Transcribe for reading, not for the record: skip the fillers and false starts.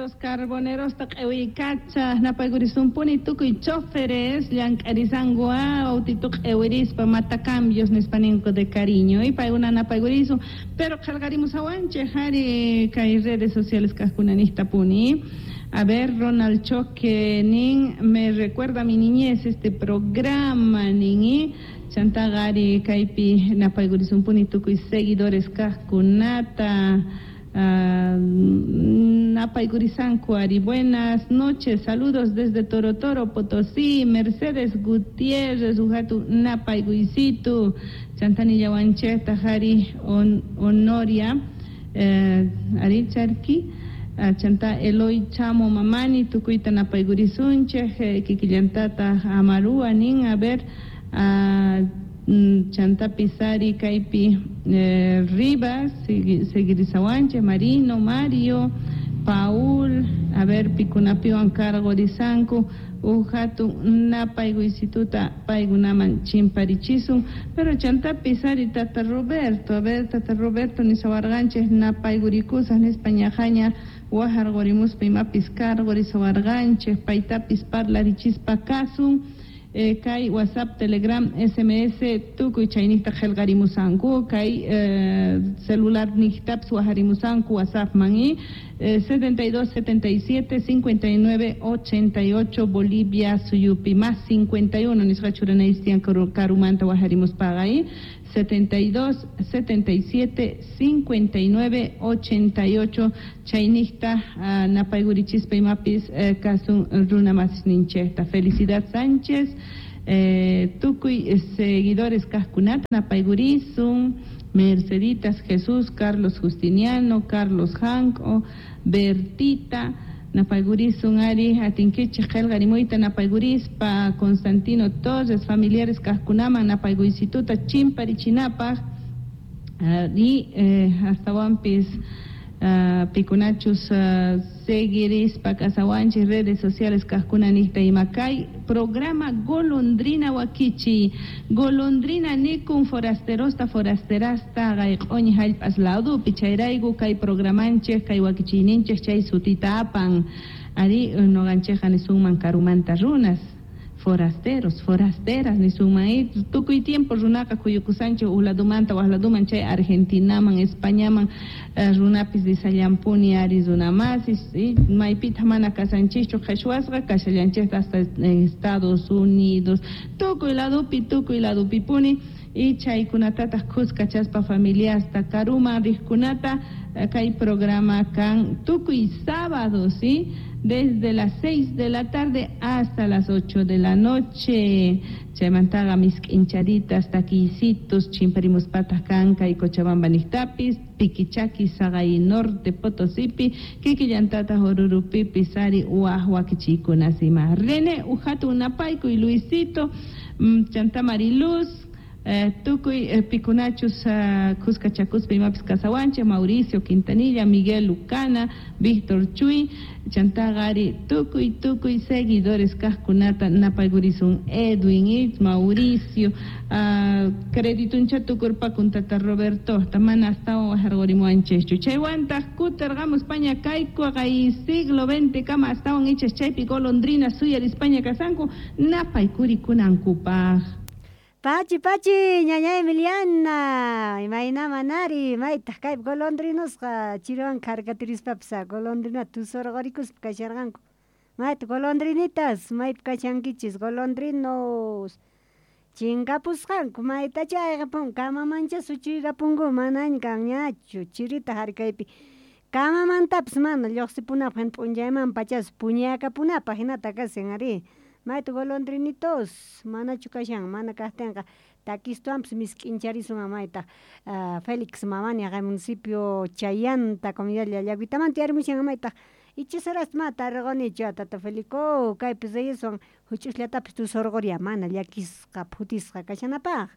Los carboneros ta q'iwiykacha napaykurisunpuni tukuy choferes llank'arisanku autito q'iwirispa matacambios nispa ninku de cariño y paykuna napaykurisun pero qillqarimusawanchik ari kay redes sociales kaqkuna niqtapuni. A ver, Ronald Choque nin, me recuerda a mi niñez este programa nin, chantaqa ari kaypi napaykurisunpuni tukuy seguidores kaqkunata. Napaykurisanku ari, buenas noches, saludos desde Toro Toro, Potosí, Mercedes Gutiérrez, ujatu napaykuysitu, chantanillawanchikta ari Honoria, ari charki, chanta Eloy Chamo Mamani, tukuyta napaykurisunchik, kikillantata Amarua nin, a ver, chanta Pisari kaypi Rivas, seguirisawanchik, Marino, Mario, Paul, a ver, pikunapiwan cargorisanku, ujatu napaykuysituta paykunaman chimparichisun, pero chanta Pisari tata Roberto, a ver, tata Roberto nisawarqanchik napaykurikusaq nispa ñaqaña wajarqurimuspa imapis cargorisawarqanchik, paytapis parlarichispa kasun. Kay WhatsApp, Telegram, SMS tukuy chayniqta qillqarimusanku, kay celular niqtapis wajarimusanku WhatsAppman y 72 77 59 88 Bolivia suyupi más 51 nisqa churanaystian karumanta wajarimuspaqa y 72 77 59 88 chayniqta napaykurichispa imapis kasun runa masisninchikta. Felicidad Sánchez, tukuy seguidores kaqkunata napaykurisun, Merceditas Jesús, Carlos Justiniano, Carlos Janco, Bertita, napaykurisun ari atinkichik qillqarimuyta napaykurispa, Constantino Torres, familiares kaqkunaman napaykuysituta chimparichinapaq, y astawanpis pikunachus seguirispa kasawanchik redes sociales kaqkuna niqta ima kay programa Golondrina wakichi, Golondrina nikun forasterosta forasterasta q'uñi hallp'as ladupi chayrayku kay programanchik kay wakichiyninchik chay sutita apan ari nuqanchikqa nisunman karumanta runas forasteros, forasteras nisunman y tukuy tiempo runaqa kuyukusanchik uj ladumanta waj laduman chay Argentinaman, Españaman runapis risallampuni ari runamasis y maypitaq mana kasanchikchu qhichwasqa kashallanchikta hasta Estados Unidos tukuy ladupi tukuy ladupipuni y chaykunatataq khuskachaspa familiasta karuman riqkunata kay programa kan tukuy sábado, ¿sí? Desde las 6 de la tarde hasta las 8 de la noche. Chaymantaqa misk'incharitas, takiysitos, chimparimuspataq kan kay Cochabamba niqtapis, Piquichaqui, Sagay Norte, Potosipi, kikillantataq Orurupipis ari waj wakichiykunas ima. René ujatu napaykuy, Luisito, chanta Mariluz, tukuy pikunachus khuskachakuspa imapis kasawanchik, Mauricio Quintanilla, Miguel Lucana, Víctor Chuy, chantaqa ari tukuy tukuy seguidores kaqkunata napaykurisun, Edwin y Mauricio, credituncha tukurpakun tata Roberto, mana astawan wajarqurimuwanchikchu. Chaywantaq kutirqamus paña kayku kay siglo XX kama astawan ichas chaypi golondrina suyarispaña kasanku napaykurikunankupaq. Pachi, pachi, ñaña Emiliana, imayna manari, maytaq kaypi golondrinosqa chiriwan kharkatirispapas golondrina tusurqurikuspa kasharqanku. Mayta golondrinitas, maypi kashankichis golondrinos. Chinkapusqanku, maytacha ayqapun, kamamancha suchuykapunku, manaña kanñachu, chirita harkaypi. Kamamantapas mana lluqsipunapaq hina p'unchayman pachas puñakapunapaq hinata kashan ari. Mayta golondrinitos, manachu kashan, mana kaqtinqa takistuwanpas misk'incharisun maytaq Félix Mamani haqay municipio Chayanta comunidad Llallaguitamanta yarimushan maytaq ichis ma tarqunichu tata Felico kaypi Reyeswan huch'usllatapis tusurquriya mana llakisqa phutisqa kashanapaq.